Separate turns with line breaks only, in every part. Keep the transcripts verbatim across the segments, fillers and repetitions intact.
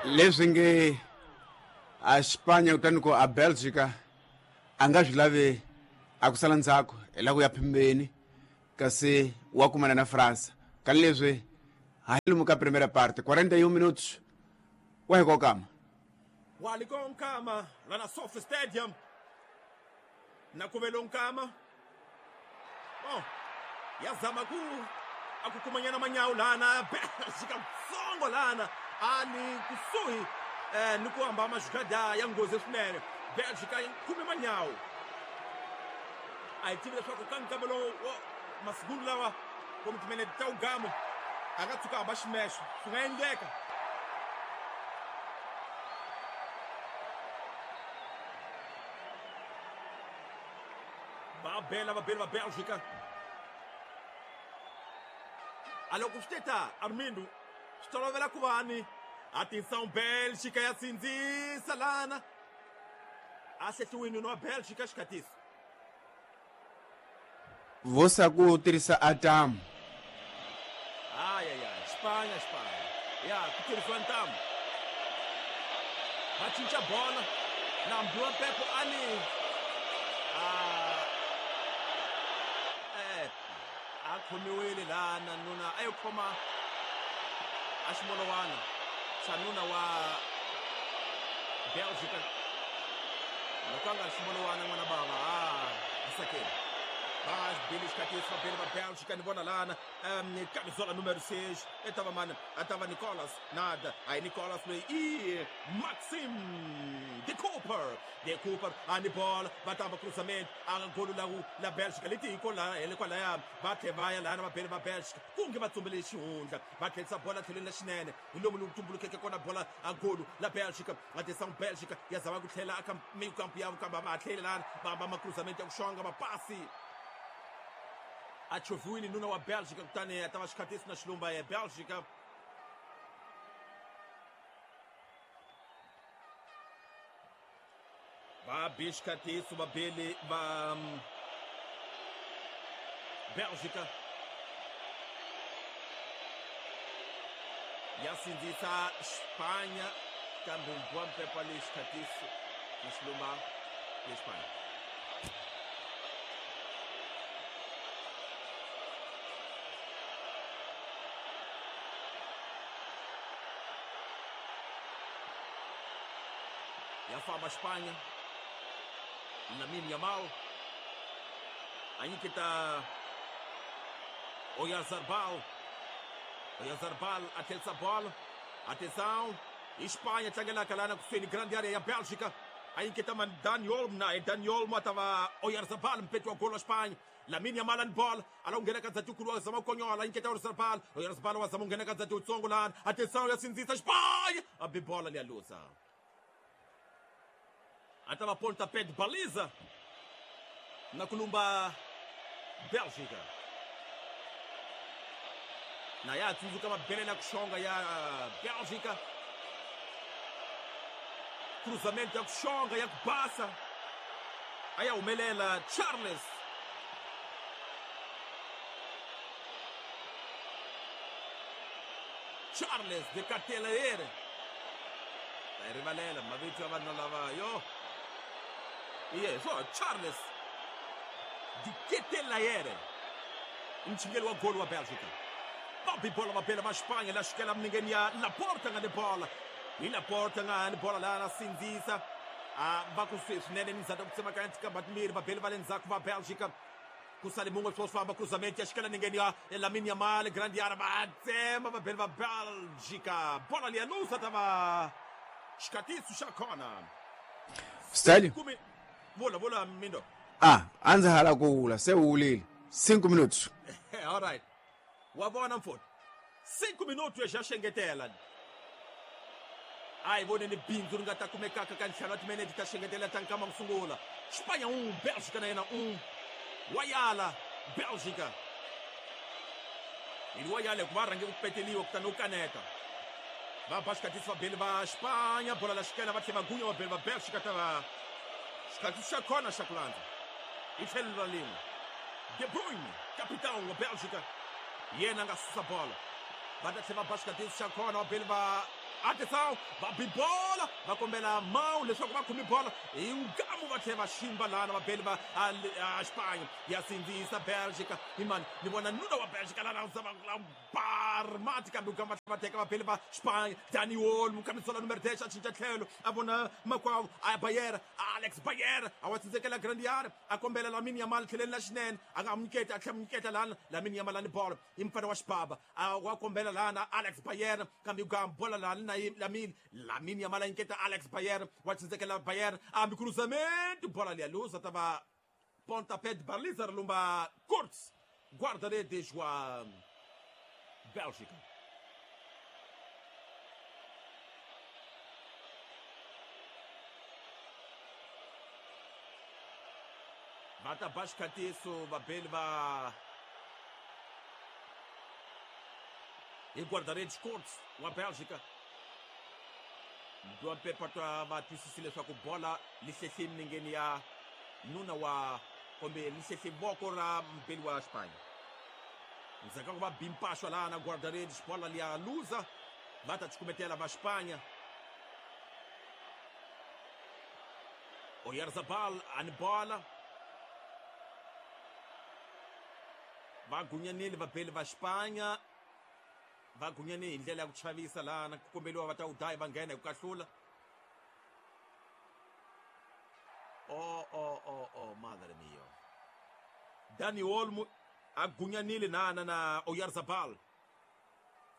Leswi nge a Espanha kutani ku a Belgica a nga swi lavi a ku sala ndzhaku hi la ku ya phembeni kasi wa kumana na França ka leswi ha hi lomu ka primeira parte quarenta e um minutos wa hi kokama
walikonkama lana Sofi Stadium na kuvelonkama oh yazama ku akukumanyana manyawu lana Belgica tsongo lana ali kusuhi eh ni ku hamba majugada ya nghozi swinene Belgica khume manyawu a hi tivi leswaku ka nkambelo wa masiku lawa kumbe timinete ta ugamo a nga tshuka hamba ximexo swi nga endleka va bela va bela va Belgica a loko swi teta Armindo swi tolovela ku va ni atenção Bélgica ya sindzisa lana a hlehliwini wa Bélgica xikatiso
vosa ku tirhisa atamu
ay ay ay Espanha Espanha ya ku tirhisiwa ntamu va cinca bola na mbiwa Pepo ali a eh a khomiwile lana nuna a yo khoma a ximolowana xa nuna wa Belgica loko a nga ri ximolowana n'wana bava a a sakeni va bele xikatiso va bele va Belgica ni vona lana um camisola número seis e tava mani a tava Nicolas nada aí Nicolas loyi i Maxim de Cooper de Cooper a ni bola va tamba cruzamento a golo la la Belgica leti hi la hi le kwalaya va tlhe va ya lana va bele va Belgica ku nge va tsumbele xihundla va tlherisa bola tlhelweni la xinene hi lomu lowu tumbulukeke kona bola a golo la Belgica a tisa Belgica ya zama ku tlhela aka mikampu ya kamba va tlhele lana va hamba macruzamento ya ku xonga mapasi a choviwile nuna wa Belgica kutani a ta va xikhatisi na xilumba ya Belgica va be xikatiso va bele va Belgica ya sindzisa Espanha kambe mbiwa mpepa le xikatiso na xilumba ya Espanha ya famba Espanha Lamine Yamal a nyiketa Oyarzabal Oyarzabal a tlherisa bola atenção Espanha tlangelaka lana kusuhi ni grande área ya Bélgica a nyiketa man Dani Olmo na Dani Olmo a ta va Oyarzabal mpeti wa golo wa Espanha Lamine Yamal ni bola ala ku nghena ka ndzati wukulu wa zama ku konyola a nyiketa Oyarzabal Oyarzabal wa zama ku nghena ka ndzati wutsongo lana atenção ya sindzisa Espanha a bi bola liya luza a ta va pontapé de baliza na kulumba Bélgica na ya tsundzuka mabelela ku xonga ya Bélgica cruzamento ya ku xonga ya ku basa a ya humelela Charles Charles de Ketelaere ta yi rivalela mavito ya vanhu lava yo iye so Charles de Ketelaere mchingeli wa golo wa Belgica va bi bola va bela va Espanha la xikela miningeni ya Laporta nga ni bola hi Laporta nga ni bola lana sindzisa a va kusuhi swinene ni ndzhaku ku tsemakanya tikamba timbirhi va bele va le ndzhaku va Belgica ku sale mun'we swo famba cruzamento ya xikela ningeni ya Lamine Yamal grande área va tsema va bele va Belgica bola liya lusa ta va xikatiso xa kona
Stélio
vula vula Mindo
ah a ndzi hala ku vula se u wulile cinco minutos
all right wa vona mfo cinco minutos ya xengetela a hi voneni bindzu ri nga ta kumekaka ka ntlhanu wa timinete ta xengetela ta nkama ku sungula Espanha um Belgica na yena um wa yala Belgica hi wa yala hikuva rhange ku peteliwa kutani u kaneta va ba xikatisi va beli va Espanha bola la xikela va tlhela va gunya va beli va Belgica ta va xikatisi xa kona xa ku landza hi tlhelo ra lin'we De Bruyne capitão wa Belgica yena a nga susa bola va ta tlhela va ba xikatisi xa kona va beli va Atenção, va bi bola, va kombela mão leswaku va khome bola hi ngamu va tlhela va ximba lana vabeli va a Espanha ya sindzisa Bélgica hi mani ni vona nuna wa Bélgica lana u barmati kambe va va teka vabeli va Espanha Dani Olmo camisola número dez a cinca tlhelo a vona makwavo a Bayer Alex Bayer a wa tsindzekela grande área a kombela Lamine Yamal tlheleni la xinene a nga nyiketa a tlhela nyiketa lana Lamine Yamal ani bola i mfana wa xibaba a wa kombela lana Alex Bayer kambe u bola lana na Lamine Lamine Yamal nyiketa Alex Bayer wa tsindzekela Bayer ambi cruzamento bola ali a luz tava pontapé de baliza lumba Kurtz guarda-redes wa Bélgica. Va ta ba xikhatiso vabeli va hi guarda-redes Kurtz wa Bélgica. Mbiwa mpepa twa va twisisi leswaku bola li hlehle milengeni ya nuna wa kumbe li hlehle voko ra mbeli wa Espanha. Ndzhaku ka ku va bimpaxwa laha na guarda-redes bola liya luza va ta cukumetela va Espanha. Oyarzabal ani bola va gunyanile vabeli va Espanha va gunyane hi ndlela ya ku chavisa lana ku kombeliwa va ta u daya va nghena hi ku kahlula. Oh oh oh oh madre mio. Dani Olmo a gunyanile nana na Oyarzabal.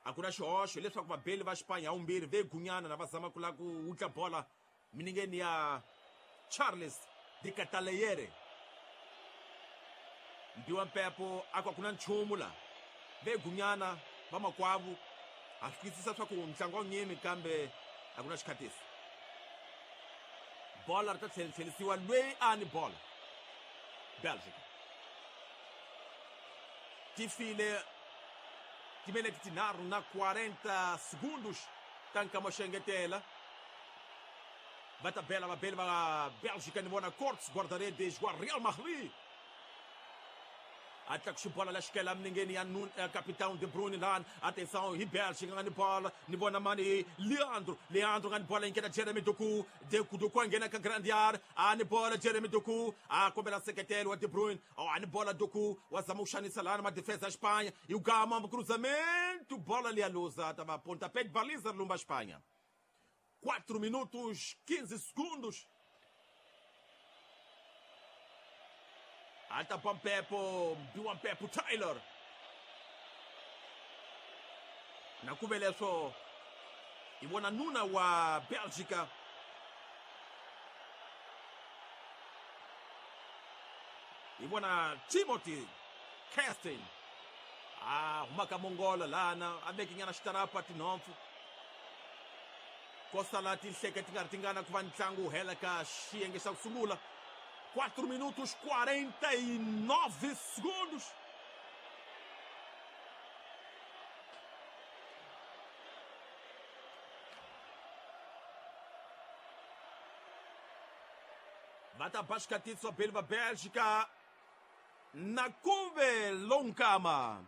A ku na xihoxo leswaku vabeli va Espanha vumbirhi ve gunyana na va zama ku lava ku wutla bola miningeni ya Charles de Cataleyere. Mbiwa mpepo a ku na nchumu la ve gunyana vamakwavo a swi twisisa swa ku ntlangu wa nyimi kambe a ku na xikhatiso. Bola ri ta tlhelisiwa loyi a ni bola Bélgica ti file timinete tinharhu na quarenta segundos ta nkama xo engetela va ta bela vabeli va Bélgica ni vona Kurtz guarda-redes wa Real Madrid a tlakuxa bola la xikela minengeni ya nun capitão De Bruyne lana atenção hi Bélgica nga ni bola ni vona mani Leandro Leandro nga ni bola yi nghena Jeremy Doku Doku Doku a nghena ka grande área a ni bola Jeremy Doku a kombela nseketelo wa De Bruyne a ni bola Doku wa zama ku xanisa lana madefesa ya Espanha yi gama cruzamento bola liya luza ta va pontapé de baliza lumba Espanha. quatro minutos quinze segundos. Alta Pampepo, Mbiwa Mpepo Taylor. Na kubeleso ibona nuna wa Bélgica. Ibona Timothy Kestin. Ah, humaka Mongola lana, abeki nyana xitarapa tinhompfu. Kosa tinhleke ti nga ri tingana ku va ntlangu wu hela ka xiyenge xa ku sungula. quatro minutos quarenta e nove segundos. Va ta ba xikhatiso beli va Bélgica na kuve lonkama.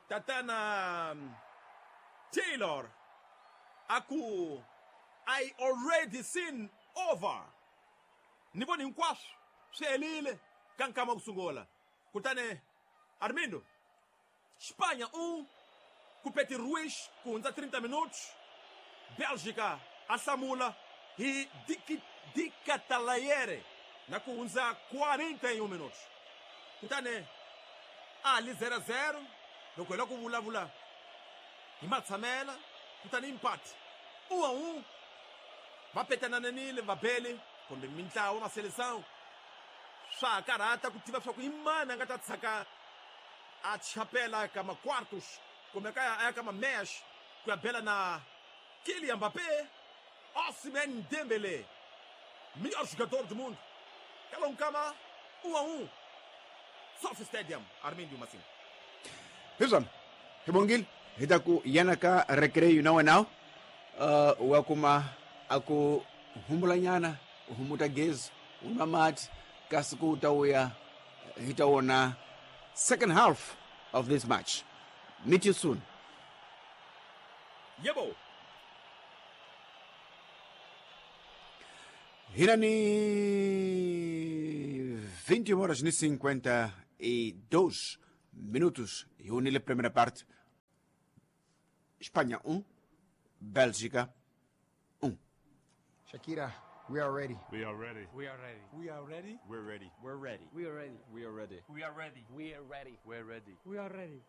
Tatana Taylor aku I already seen over. Ni voni hinkwaswo swi helile ka nkama ku sungula. Kutani Armindo Espanha um ku Peti Ruiz ku hundza trinta minutos. Bélgica a hlamula hi Di Catalayere na ku hundza quarenta e um minutos. Kutani a li zero a zero loko hi lava ku vulavula hi matshamela kutani empate um a um. Va petanananile vabeli kumbe mintlawa va seleção swa ha karhata ku tiva swa ku i mani a nga ta tshaka a chapela ka ma-quartos kumbe ka a ya ka ma-mesh ku ya bela na Kylian Mbappé, Ousmane Dembélé, melhor jogador do mundo. Kalonkama um a um. SoFi Stadium, Armindio Massim.
Hiswona hi bongile hi ta ku yana ka recreio na wena uh, wa kuma a ku humbulanyana u humuta gezi u nwa mati kasi ku ta uya hi ta wona second half of this match. Meet you soon.
Yebo.
Hina ni vinte e uma horas e cinquenta e dois minutos. E unile primeira parte. Espanha um, Bélgica um.
Shakira, we are ready.
We are ready.
We are ready.
We are ready.
We're ready.
We're ready.
We are ready.
We are ready.
We are ready.
We are ready.
We're ready.
We are ready.